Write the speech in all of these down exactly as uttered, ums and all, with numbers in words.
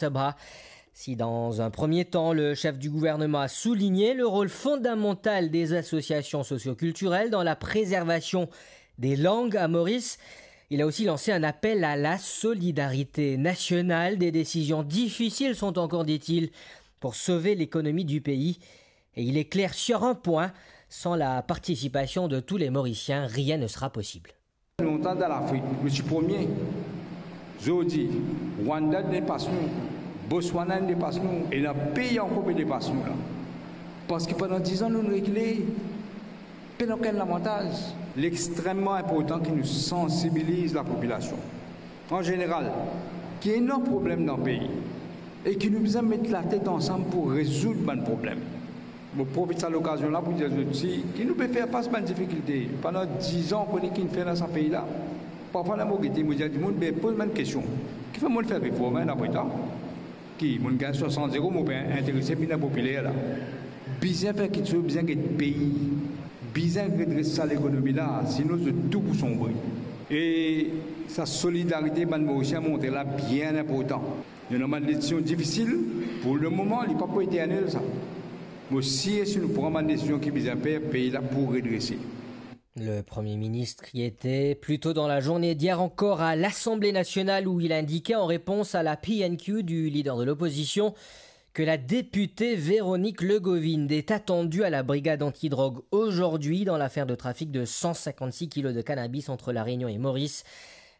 Sabha. Si dans un premier temps, le chef du gouvernement a souligné le rôle fondamental des associations socioculturelles dans la préservation des langues à Maurice, il a aussi lancé un appel à la solidarité nationale. Des décisions difficiles sont encore, dit-il, pour sauver l'économie du pays. Et il est clair sur un point, sans la participation de tous les Mauriciens, rien ne sera possible. Lontan dan Lafrik, nou ti premie. Zordi, Rwanda depas nou, Botswana depas nou, e ena pei ankor pe depas nou la. Parski pandan diz an nou rekile, pena okenn lavantaz. Li extrememan inportan ki nou sansibiliz lapopilasion an zeneral, ki ena problem dan pei e ki nou bizin met latet ansam pou rezoud bann problem. Mo profit sa lokazion la pou dir zot osi ki nou pe fer fas bann difikilte. Pandan diz an, kone ki inn fer dan sa pei la. Parfwa, ler mo gete, mo dir dimoun, be, poz mwa enn kestion. Kifer mo fer reform, enn apre ta? Ki, mo gagn swasant zero, mo pe interese, vinn inpopiler la. Bizin fer kiksoz, bizin get pei. Bizin redres sa lekonomi la, sinon zot tou pou sonbre. E sa solidarite bann Morisien montre la bien inportan. Nou ena bann desizion difisil, pou lemoman, li pa pou eternel sa. Mo sir si nou pran bann desizion ki bizin fer, pei la pou redrese. Le Premier ministre qui était plus tôt dans la journée d'hier encore à l'Assemblée nationale où il indiquait en réponse à la P N Q du leader de l'opposition que la députée Véronique Legovinde est attendue à la brigade antidrogue aujourd'hui dans l'affaire de trafic de cent cinquante-six kilos de cannabis entre La Réunion et Maurice.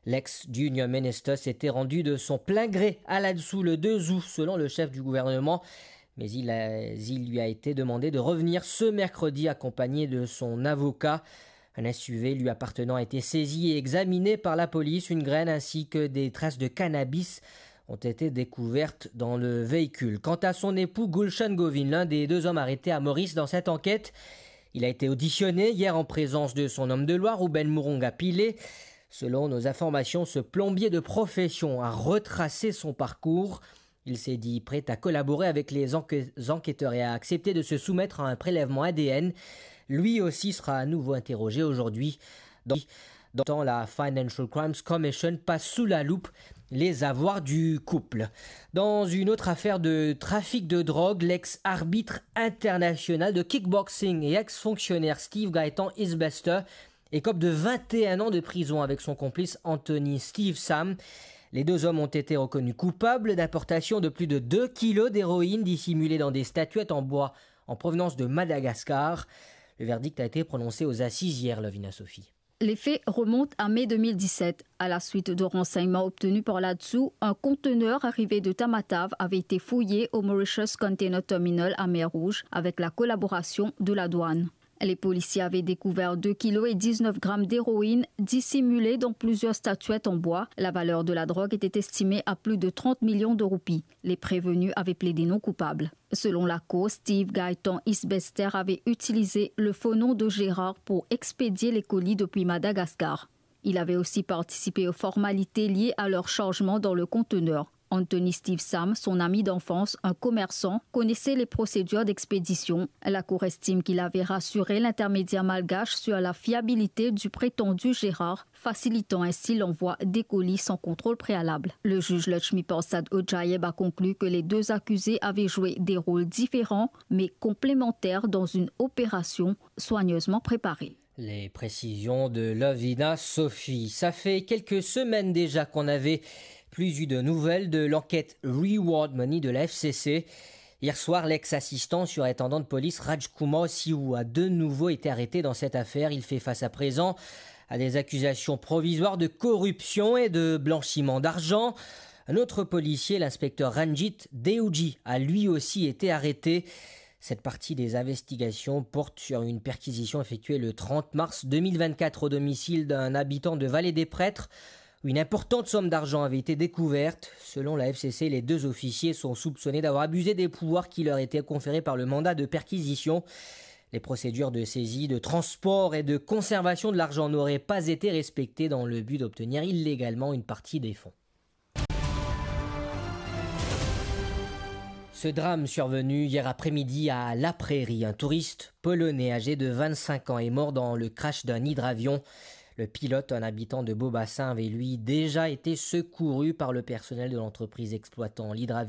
L'ex-Junior Minister s'était rendu de son plein gré à Ladsu le deux août, selon le chef du gouvernement. Mais il a- il lui a été demandé de revenir ce mercredi accompagné de son avocat. Un S U V lui appartenant a été saisi et examiné par la police. Une graine ainsi que des traces de cannabis ont été découvertes dans le véhicule. Quant à son époux Gulshan Govind, l'un des deux hommes arrêtés à Maurice dans cette enquête, il a été auditionné hier en présence de son homme de loi, Ruben Moronga Pillay. Selon nos informations, ce plombier de profession a retracé son parcours. Il s'est dit prêt à collaborer avec les enquê- enquêteurs et a accepté de se soumettre à un prélèvement A D N. Lui aussi sera à nouveau interrogé aujourd'hui. Dans, dans le temps, la Financial Crimes Commission passe sous la loupe les avoirs du couple. Dans une autre affaire de trafic de drogue, l'ex-arbitre international de kickboxing et ex-fonctionnaire Steve Gaëtan Isbester écope de vingt et un ans de prison avec son complice Anthony Steve Sam. Les deux hommes ont été reconnus coupables d'importation de plus de deux kilos d'héroïne dissimulée dans des statuettes en bois en provenance de Madagascar. Le verdict a été prononcé aux assises hier, Lovina Sophie. Les faits remontent à mai deux mille dix-sept. À la suite de renseignements obtenus par l'A D S U, un conteneur arrivé de Tamatave avait été fouillé au Mauritius Container Terminal à Mer Rouge avec la collaboration de la douane. Les policiers avaient découvert deux kilos et dix-neuf grammes d'héroïne dissimulée dans plusieurs statuettes en bois. La valeur de la drogue était estimée à plus de trente millions de roupies. Les prévenus avaient plaidé non coupable. Selon la cour, Steve Gaëtan Isbester avait utilisé le faux nom de Gérard pour expédier les colis depuis Madagascar. Il avait aussi participé aux formalités liées à leur chargement dans le conteneur. Anthony Steve Sam, son ami d'enfance, un commerçant, connaissait les procédures d'expédition. La cour estime qu'il avait rassuré l'intermédiaire malgache sur la fiabilité du prétendu Gérard, facilitant ainsi l'envoi des colis sans contrôle préalable. Le juge Lakshmi Parsad Ojaeb a conclu que les deux accusés avaient joué des rôles différents mais complémentaires dans une opération soigneusement préparée. Les précisions de Lovina Sophie. Ça fait quelques semaines déjà qu'on n'avait plus eu de nouvelles de l'enquête Reward Money de la F C C. Hier soir, l'ex-assistant surintendant de police Rajkumar Siu a de nouveau été arrêté dans cette affaire. Il fait face à présent à des accusations provisoires de corruption et de blanchiment d'argent. Un autre policier, l'inspecteur Ranjit Deoji, a lui aussi été arrêté. Cette partie des investigations porte sur une perquisition effectuée le trente mars deux mille vingt-quatre au domicile d'un habitant de Vallée des Prêtres, où une importante somme d'argent avait été découverte. Selon la F C C, les deux officiers sont soupçonnés d'avoir abusé des pouvoirs qui leur étaient conférés par le mandat de perquisition. Les procédures de saisie, de transport et de conservation de l'argent n'auraient pas été respectées dans le but d'obtenir illégalement une partie des fonds. Ce drame survenu hier après-midi à La Prairie, un touriste polonais âgé de vingt-cinq ans est mort dans le crash d'un hydravion. Le pilote, un habitant de Beau-Bassin, avait lui déjà été secouru par le personnel de l'entreprise exploitant l'hydravion.